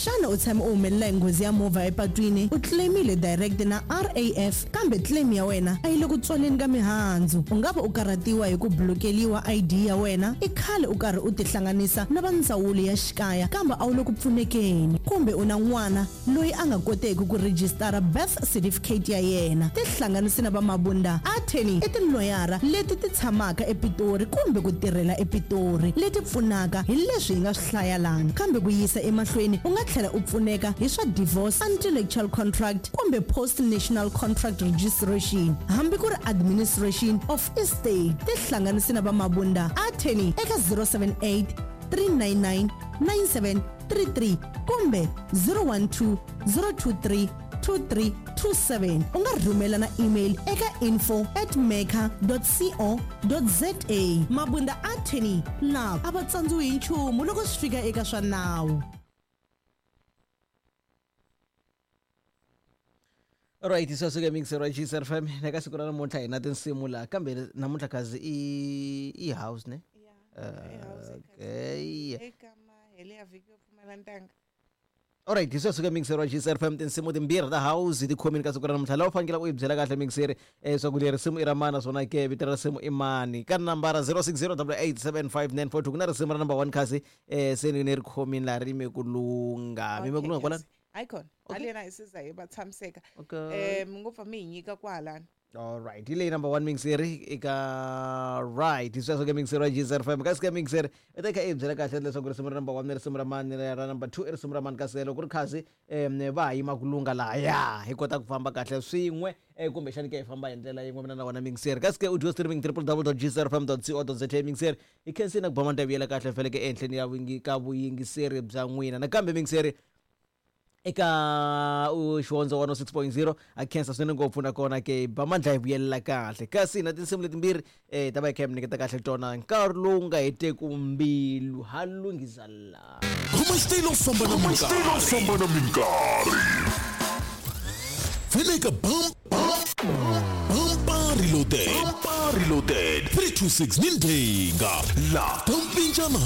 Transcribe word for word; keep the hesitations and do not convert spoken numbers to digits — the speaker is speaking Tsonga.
Xana u tshame u humelela hi nghozi ya movha epatwini u claimile direct na R A F, kambe claim ya wena a yi le ku tswaleni ka mihandzu? U nga va u karhatiwa hi ku blokeliwa I D ya wena? I khale u karhi u tihlanganisa na va ndzawulo ya xikaya, kambe a wu le ku pfunekeni? Kumbe u na n'wana loyi a nga koteki ku rejistara birth certificate ya yena? Tihlanganisi na va Mabunda Attorney. I tiloyara leti ti tshamaka ePitori kumbe ku tirhela ePitori, leti pfunaka hi leswi hi nga swi hlaya lani. Kambe ku yisa emahlweni, u nga tlhela u pfuneka hi swa divorce, intellectual contract kumbe post national contract registration, hambi ku ri administration of estate. Tihlanganisi na va Mabunda Attorney eka zero seven eight three nine nine nine seven three three kumbe zero one two zero two three two three two seven. U nga rhumela na email eka info at maker co za. Mabunda Attorney na a va tsandziwi hi nchumu loko swi fika eka swa nawu. Alright, sweswo ke mixer wa G S F M. Eka siku ra namuntlha hi na tinsimu laha, kambe namuntlha kazi i i house ne? Yeah. Okay. Eka mahele ya vhiki yo pfumala ntanga. Alright, hi sweswo ke mixer wa G S F M. Tinsimu timbirhi ta house ti khomini ka siku ra namuntlha. Laha u fanekele u yi byela kahle mixer eh swa ku leri risimu i ra mani, naswona ke vito ra risimu i mani, ka nambara zero six zero eight eight seven five nine four two. Ku na risimu ra number one kasi eh se ni ni ri khomini laha, ri yime ku lungha, mi yime ku lungha kwalani. Hayi khona. Okay. Halena hi siza hi va tshamiseka. Okay. um ngopfu mi hi nyika kwahalani. Alright, hi leyi number one mixer eka. Right, hi sweswo ke mixer wa G S F M. Kasi ke mixer i ta kha i byela kahle leswaku risimu ra number one i risimu ra mani, ra number two i risimu ra mani, kasi loko ku ri khasi um va ha yima ku lungha lahaya, hi kota ku famba kahle swin'we, eh, kumbexani ke hi famba hi ndlela yin'we mina na wena mixer. Kasi ke audio streaming w w w dot g s f m dot co dot za. Mixer, hi khensini na ku ba manta vuyela kahle feleke ehenhleni ya vuyingi ka vuyingiseri bya n'wina. Nakambe mixer eka u Xihondzo one oh six point zero, a khensa swinene ngopfu. Nakona ke ba mandla hi vuyelela kahle, kasi na tinsimu letimbirhi eh ta va hi kha hi mi nyiketa kahle tona nkarhi lowu nga heteku mbilu ha lunghisa laha. Khoma xitayili u famba na minkarhi. Famba na minkarhi. Veleka bam bampa reloaded. Bampa reloaded. three two six ni ndhenga La ta mpinjana.